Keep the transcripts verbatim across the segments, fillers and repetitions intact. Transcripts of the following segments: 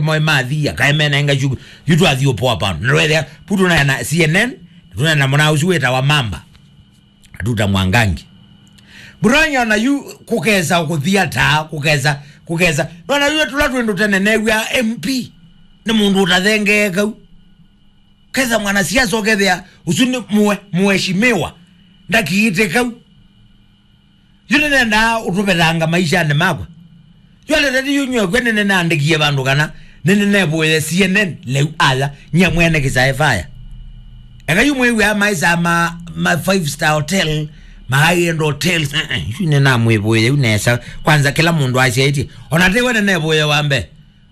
angĩ moe mathi, akae menenga shuku. Yu twathiĩ ũpoa pano. Na rwethĩa, pu tunaenda C N N, tunaenda mwana ũsu wĩtawa Mamba. Atuta Mwangangi. Buranya na yu kũkesa kũthia taa, kũkesa, kũkesa. Nona yu tũla twĩndũ tene new'a M P. Nĩ mũndũ ũtathengeeka u. Ketha mwanasiasa ũkethĩa ũsu nĩ mwe-, mheshimiwa. Ndakiitĩka u. Yu nĩnendaa ũtũvethanga maishanĩ makwa. Yu aleteti yu nywekwe nĩnĩnaandĩkie vandũ kana nĩnĩnevũĩe C N N lĩu aya nyie mwene kĩsae faya. Eka yu mwĩw'aa maĩsaa ma, ma five star hotel, ma high end hotels. Eh, eh, yu nĩnamwĩvũĩe yu nesa. Kwanza kĩla mũndũ asyaĩtye. Ona tĩwe nĩnevũĩe wa mbee.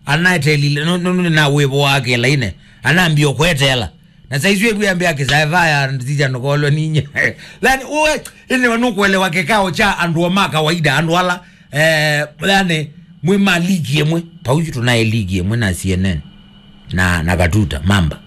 Anaetelile, no, no, no, na wĩvo wa kĩlaine. Anambia ũkwetela. Na saizi wĩw'ĩa mbĩa kĩsae faya ndithya nũkolwe ninye. Yaani, uwe, ĩnĩ nũkuelewa kĩkao kya andũ ma kawaida, andũ ala, eh, yaani, mwĩ ma ligi ĩmwe. Pauju tũnaĩ ligi ĩmwe na C N N. Na, na Katuta, Mamba.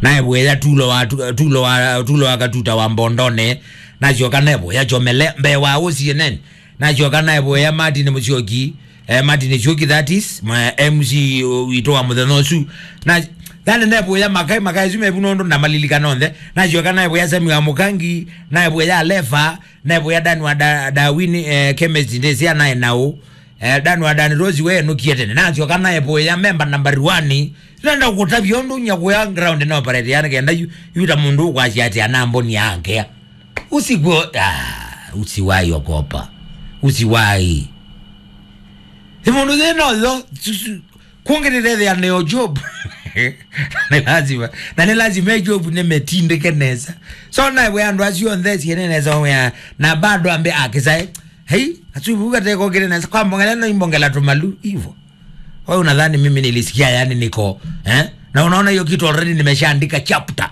Naevũĩa Tulo wa, Tu-, Tulo wa, Tulo wa Katuta wa Mbondone. Nasyoka naevũĩa Chomele, mbee wa ũ C N N. Nasyoka naevũĩa Martin Musyoki, eh, Martin Musyoki, that is, ma M C witũ wa mũthenya ũsu. Na, yani, naevũĩa makai, makai, asu mevu nũndũ namalilikana onthe. Nasyoka naevũĩa Sami wa Mũkangi, naevũĩa Alefa, naevũĩa Dan wa Da-, Darwin, eh, chemist, ndĩsĩ anaĩ naũ. Eh, Dan wa Dan Rose we nũkie tene. Nasyoka naevũĩa memba number one. Nenda kũtavya ũndũ nya kũya ground na operate, yani, kenda yu, yu ta mũndũ ũkwasya atĩ anamboni angea. Usiku, ah, usiwahi ogopa. Usiwahi. Ĩ mũndũ thĩna ũyo, su-, su-, kwongererethea neo job. Nĩ lazima. Na nĩ lazima e job nĩmetindĩke nesa. So nawe andũ acio onthe siene nesa wĩa, na bado ambe akĩsae. Hei, asubuhi katekokire nesa. Kwa mbongela no imbongela tumalu, hivyo. Wewe unadhani mimi nilisikia yani niko, eh? Na unaona hiyo kitu already nimeshaandika chapter.